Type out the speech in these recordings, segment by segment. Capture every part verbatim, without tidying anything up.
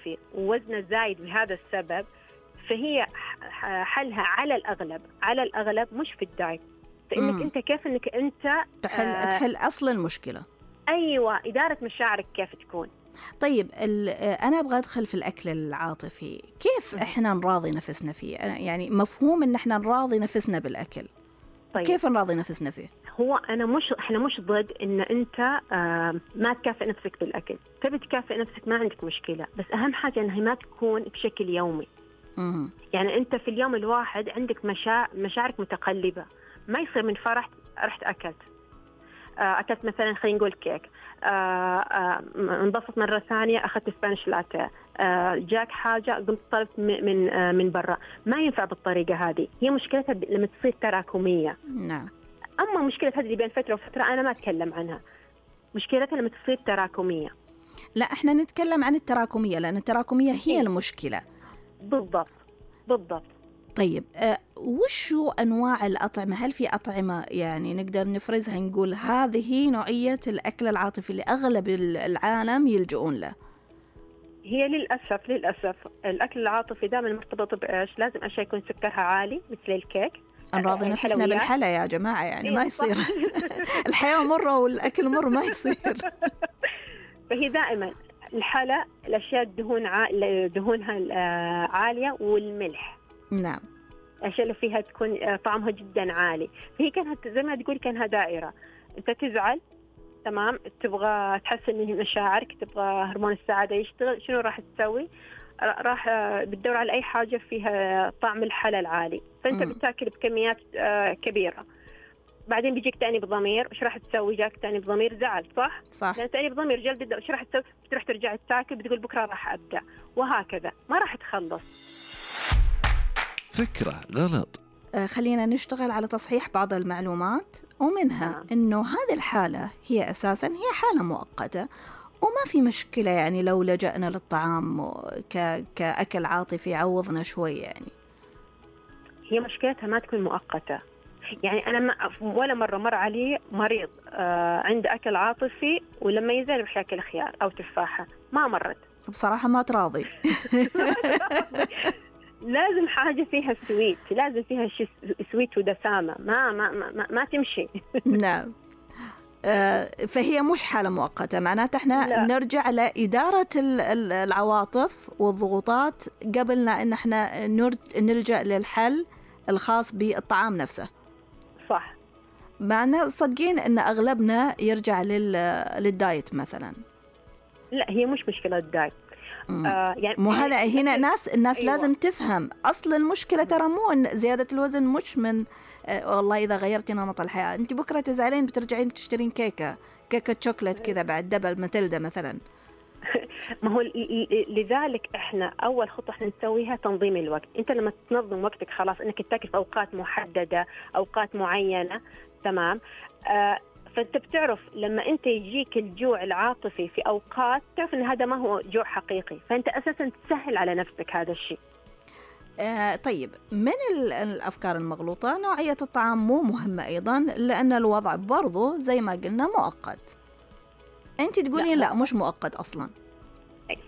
العاطفي ووزنه زايد بهذا السبب، فهي حلها على الأغلب على الأغلب مش في الدايت، فإنك مم. أنت كيف إنك أنت تحل آه تحل أصل المشكلة. أيوة، إدارة مشاعرك كيف تكون. طيب أنا أبغى أدخل في الأكل العاطفي، كيف مم. إحنا نراضي نفسنا فيه؟ يعني مفهوم إن إحنا نراضي نفسنا بالأكل. طيب. كيف نراضي نفسنا فيه؟ هو أنا مش إحنا مش ضد إن أنت آه ما تكافئ نفسك بالأكل، تبي تكافئ نفسك ما عندك مشكلة، بس أهم حاجة إنها ما تكون بشكل يومي. مم. يعني أنت في اليوم الواحد عندك مشاعر مشاعرك متقلبة، ما يصير من فرح رحت أكلت آه أكلت مثلا خلينا نقول كيك، آه آه انبسط مرة ثانية أخذت سبانيش لاتيه، آه جاك حاجة قمت طلبت من آه من برا. ما ينفع بالطريقة هذه، هي مشكلتها لما تصير تراكمية. نعم. أما مشكلة هذه اللي بين فترة وفترة أنا ما أتكلم عنها، مشكلتها لما تصير تراكمية. لا إحنا نتكلم عن التراكمية، لأن التراكمية هي إيه؟ المشكلة. بالضبط بالضبط. طيب أه وشو أنواع الأطعمة؟ هل في أطعمة يعني نقدر نفرزها نقول هذه نوعية الأكل العاطفي اللي أغلب العالم يلجؤون له؟ هي للأسف للأسف الأكل العاطفي دائما مرتبط بإيش؟ لازم أشياء يكون سكرها عالي مثل الكيك. نراضي نفسنا بالحلا يا جماعة، يعني إيه ما يصير. الحياة مرة والأكل مر، ما يصير. فهي دائما الحلا، الأشياء الدهون ع... دهونها عالية، والملح. نعم. الأشياء اللي فيها تكون طعمها جدا عالي. فهي كانت زي ما تقول كانها دائرة، أنت تزعل تمام، تبغى تحسن من مشاعرك، تبغى هرمون السعادة يشتغل، شنو راح تسوي؟ راح بتدور على أي حاجة فيها طعم الحلا العالي، فأنت م. بتاكل بكميات كبيرة. بعدين بيجيك تأنيب ضمير، وش راح تسوي؟ جاك تأنيب ضمير، زعل، صح؟ صح. لأن تأنيب ضمير جلد، وش راح تسوي؟ بتروح ترجع تاكل، بتقول بكرة راح أبدأ، وهكذا ما راح تخلص. فكرة غلط. آه خلينا نشتغل على تصحيح بعض المعلومات، ومنها آه. إنه هذه الحالة هي أساساً هي حالة مؤقتة، وما في مشكلة يعني لو لجأنا للطعام ك... كأكل عاطفي عوضنا شوي. يعني هي مشكلتها ما تكون مؤقتة. يعني أنا ما ولا مرة مر علي مريض آه عنده أكل عاطفي ولما يزال يروح يأكل خيار أو تفاحة، ما مرت. بصراحة ما تراضي. لازم حاجة فيها سويت، لازم فيها شيء سويت ودسامة، ما ما ما, ما تمشي. نعم. آه فهي مش حالة مؤقتة، معناته احنا لا. نرجع لإدارة العواطف والضغوطات قبلنا إن احنا نلجأ للحل الخاص بالطعام نفسه. صح. معنا صدقين إن أغلبنا يرجع للدايت مثلا. لا هي مش مشكلة الدايت. آه يعني مو هذا هنا ناس الناس أيوة. لازم تفهم أصل المشكلة ترى مو إن زيادة الوزن مش من آه والله إذا غيرتي نمط الحياة أنت بكرة تزعلين بترجعين بتشترين كيكة كيكة شوكولات كذا بعد دبل ماتيلدا مثلا. ما هو لذلك إحنا أول خطوة إحنا نسويها تنظيم الوقت. أنت لما تنظم وقتك خلاص إنك تاكل في أوقات محددة، أوقات معينة، تمام. آه فأنت بتعرف لما أنت يجيك الجوع العاطفي في أوقات تعرف أن هذا ما هو جوع حقيقي، فأنت أساساً تسهل على نفسك هذا الشيء. آه طيب من الأفكار المغلوطة نوعية الطعام مو مهمة أيضاً، لأن الوضع برضو زي ما قلنا مؤقت. أنت تقولين لا, لا مش مؤقت أصلاً.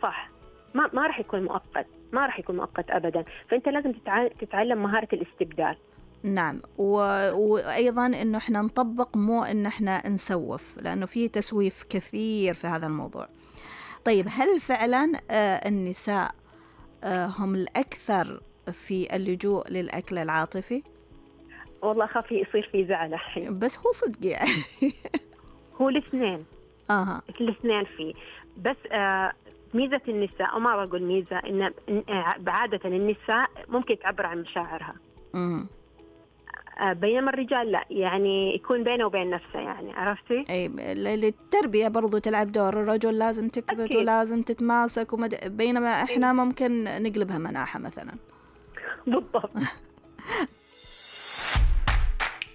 صح، ما ما راح يكون مؤقت، ما راح يكون مؤقت أبداً. فأنت لازم تتعلم مهارة الاستبدال. نعم. و... وأيضاً إنه إحنا نطبق مو إن إحنا نسوف، لأنه في تسويف كثير في هذا الموضوع. طيب هل فعلاً آه النساء آه هم الأكثر في اللجوء للأكل العاطفي؟ والله أخاف يصير في زعل الحين. بس هو صدق يعني. هو الاثنين. آه. الاثنين فيه، بس آه ميزة النساء، أو ما بقول ميزة، إن بعادة النساء ممكن تعبر عن مشاعرها. امم بينما الرجال لا، يعني يكون بينه وبين نفسه، يعني عرفتي؟ اي التربية برضو تلعب دور، الرجل لازم تكبت أكيد. ولازم تتماسك ومد... بينما احنا ممكن نقلبها مناحة مثلا. بالضبط.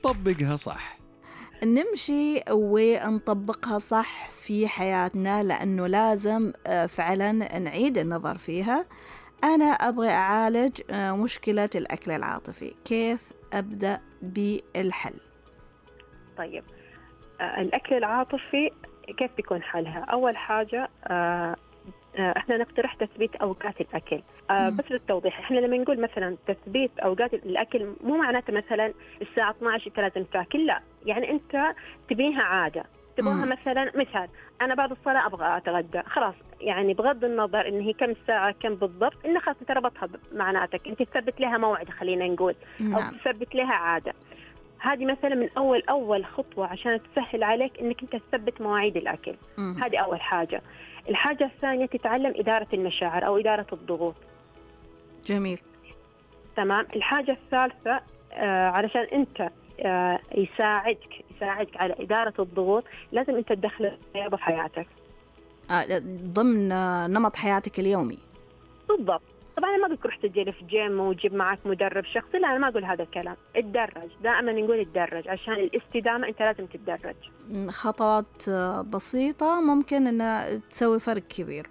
طبقها صح. نمشي ونطبقها صح في حياتنا، لأنه لازم فعلا نعيد النظر فيها. أنا أبغى أعالج مشكلة الأكل العاطفي، كيف أبدأ بالحل؟ طيب آه الأكل العاطفي كيف بيكون حلها؟ أول حاجة آه احنا نقترح تثبيت اوقات الاكل. آه بس للتوضيح، احنا لما نقول مثلا تثبيت اوقات الاكل مو معناته مثلا الساعه اثنا عشر انت لازم تاكل، لا، يعني انت تبنيها عاده، تبغاها مثلا مثال انا بعد الصلاه ابغى اتغدى، خلاص يعني بغض النظر ان هي كم ساعه كم بالضبط، انه خلاص انت ربطها معناتك انت تثبت لها موعد خلينا نقول، او تثبت لها عاده. هذه مثلا من اول اول خطوه عشان تسهل عليك انك انت تثبت مواعيد الاكل. هذه اول حاجه. الحاجه الثانيه تتعلم اداره المشاعر او اداره الضغوط. جميل. تمام. الحاجه الثالثه آه علشان انت آه يساعدك يساعدك على اداره الضغوط، لازم انت تدخل الرياضه في حياتك آه ضمن نمط حياتك اليومي. بالضبط. طبعا أنا ما أقول روح تجري في جيم وجيب معك مدرب شخصي، لا أنا ما أقول هذا الكلام. اتدرج، دائما نقول اتدرج عشان الاستدامة أنت لازم تتدرج. خطوات بسيطة ممكن أن تسوي فرق كبير.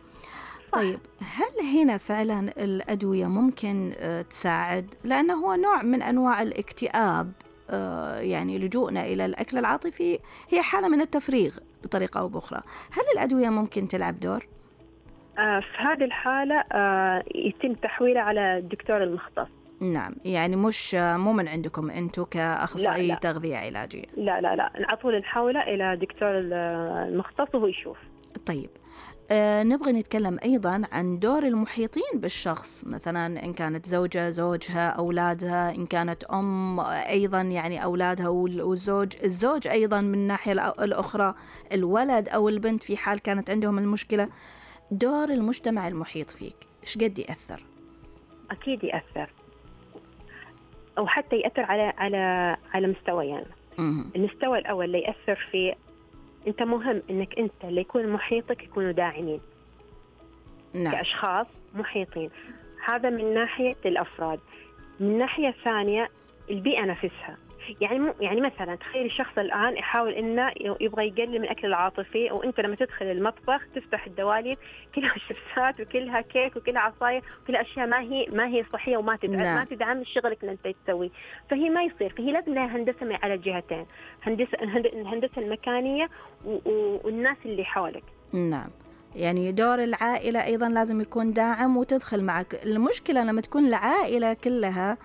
صح. طيب هل هنا فعلا الأدوية ممكن تساعد؟ لأنه هو نوع من أنواع الاكتئاب، يعني لجوءنا إلى الأكل العاطفي هي حالة من التفريغ بطريقة أو بأخرى. هل الأدوية ممكن تلعب دور؟ آه في هذه الحالة آه يتم تحويله على الدكتور المختص. نعم، يعني مش مو من عندكم أنتوا كأخصائي تغذية علاجية؟ لا لا لا، على طول نحوله إلى دكتور المختص وهو يشوف. طيب آه نبغى نتكلم أيضا عن دور المحيطين بالشخص، مثلا إن كانت زوجة زوجها، أولادها، إن كانت أم أيضا يعني أولادها والزوج الزوج أيضا من الناحية الأخرى الولد أو البنت في حال كانت عندهم المشكلة. دور المجتمع المحيط فيك إيش قد يأثر؟ أكيد يأثر، أو حتى يأثر على على على مستويين. يعني. المستوى الأول اللي يأثر فيه أنت مهم إنك أنت اللي يكون محيطك يكونوا داعمين. نعم. كأشخاص محيطين. هذا من ناحية الأفراد. من ناحية ثانية البيئة نفسها. يعني مو يعني مثلا تخيل الشخص الآن يحاول إنه يبغى يقلل من الأكل العاطفي، وأنت لما تدخل المطبخ تفتح الدواليب كلها شيبسات وكلها كيك وكلها عصاير وكلها أشياء ما هي ما هي صحية وما تدعم لا. ما تدعم شغلك اللي أنت تسوي، فهي ما يصير. فهي لازم لها هندسة على الجهتين، هندسة الهندسة المكانية والناس اللي حولك. نعم، يعني دور العائلة أيضا لازم يكون داعم وتدخل معك. المشكلة لما تكون العائلة كلها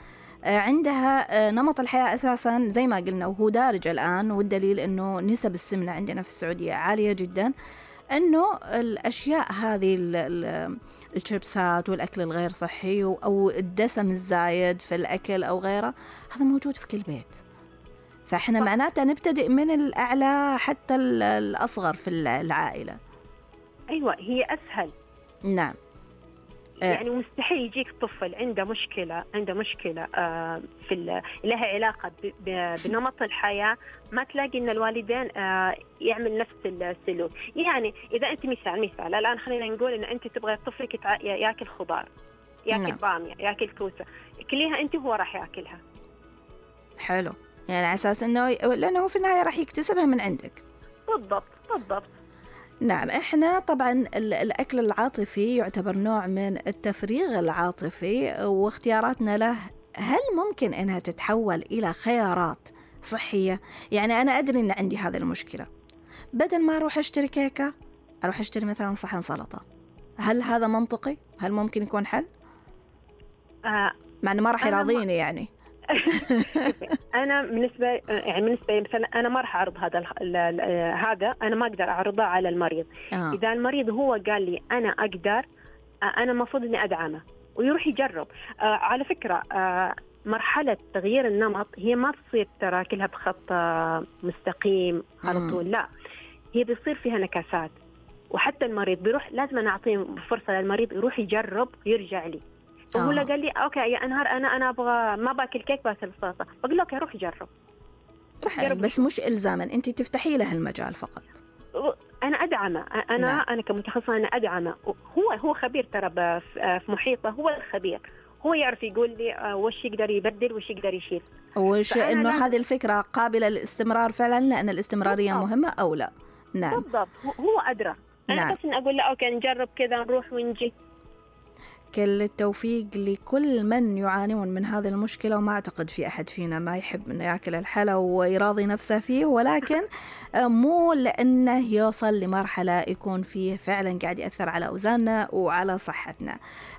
عندها نمط الحياة أساساً زي ما قلنا وهو دارج الآن، والدليل أنه نسب السمنة عندنا في السعودية عالية جداً، أنه الأشياء هذه الشيبسات والأكل الغير صحي أو الدسم الزايد في الأكل أو غيره هذا موجود في كل بيت. فإحنا معناته نبتدئ من الأعلى حتى الأصغر في العائلة. أيوة، هي أسهل. نعم. يعني مستحيل يجيك طفل عنده مشكلة عنده مشكلة آه في لها علاقة بنمط الحياة ما تلاقي إن الوالدين آه يعمل نفس السلوك. يعني إذا أنت مثال مثال الآن خلينا نقول إن أنت تبغى طفلك يأكل خضار، يأكل بامية، يأكل كوسة، كليها أنت هو راح يأكلها. حلو، يعني على أساس إنه لأنه في النهاية راح يكتسبها من عندك. بالضبط بالضبط. نعم، إحنا طبعاً الأكل العاطفي يعتبر نوع من التفريغ العاطفي، واختياراتنا له هل ممكن أنها تتحول إلى خيارات صحية؟ يعني أنا أدري أن عندي هذه المشكلة، بدل ما أروح أشتري كيكة أروح أشتري مثلاً صحن سلطة. هل هذا منطقي؟ هل ممكن يكون حل؟ آه مع أنه ما راح يراضيني يعني. أنا بالنسبة يعني بالنسبة مثلا أنا ما راح أعرض هذا هذا أنا ما أقدر أعرضه على المريض. آه. إذا المريض هو قال لي أنا أقدر، أنا المفروض إني أدعمه ويروح يجرب. آه على فكرة آه مرحلة تغيير النمط هي ما تصير ترى كلها بخط مستقيم على طول، لا، هي بيصير فيها نكاسات. وحتى المريض بيروح لازم أنا أعطيه فرصة للمريض يروح يجرب ويرجع لي. وهو قال لي اوكي يا انهار انا انا ابغى ما باكل كيك باكل سلطه، بقول له اوكي روح جرب. بس مش الزاما، انت تفتحي له المجال فقط. انا ادعمه، انا نعم. انا كمتخصصه انا ادعمه. هو هو خبير ترى في محيطه، هو الخبير، هو يعرف يقول لي وش يقدر يبدل وش يقدر يشيل. وش انه هذه الفكره قابله للاستمرار فعلا، لان الاستمراريه بالضبط. مهمه او لا. نعم بالضبط، هو ادرى. انا نعم. بس اقول له اوكي نجرب كذا نروح ونجي. كل التوفيق لكل من يعانون من هذه المشكلة، وما أعتقد في أحد فينا ما يحب أنه يأكل الحلا ويراضي نفسه فيه، ولكن مو لأنه يوصل لمرحلة يكون فيه فعلا قاعد يأثر على أوزاننا وعلى صحتنا.